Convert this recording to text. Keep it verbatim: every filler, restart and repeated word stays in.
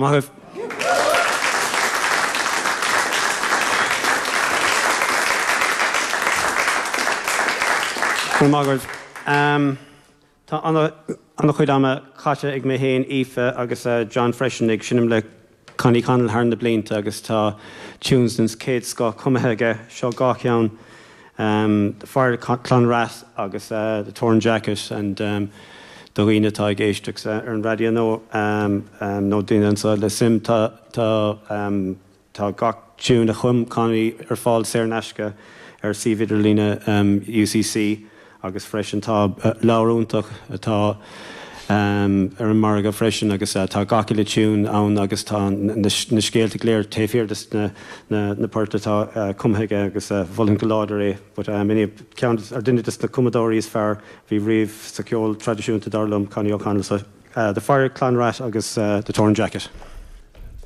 Maith. Maith. Um, Tá an-chuid ama caite ag mé féin Aoife agus uh, John freisin ag seinm le Connie Connell thar na blianta agus tá tunes den chéad scoth cumtha aige seo dhá cheann um, the Fire Clonrath agus uh, the Torn Jacket and um, do dhaoine atá ag éisteacht uh, ar an raidió nó um, um, nó daoine anseo le suim tá tá um, tá gach tune a chum Connie ar fáil saor in aisce ar suíomh idirlín um, UCC agus freisin tá uh, leabhar iontach atá um, ar an margadh freisin agus uh, tá gach uile tune ann agus tá na, na scéalta go léir taobh thiar de na, na, na poirt atá uh, cumtha aige agus uh, mholfainn go láidir é, but um, ceann ar duine de na cumadóirí is fearr bhí riamh sa ceol traidisiúnta dar liom Connie O'Connell so, uh, the Fire Clanrat agus uh, the Torn Jacket.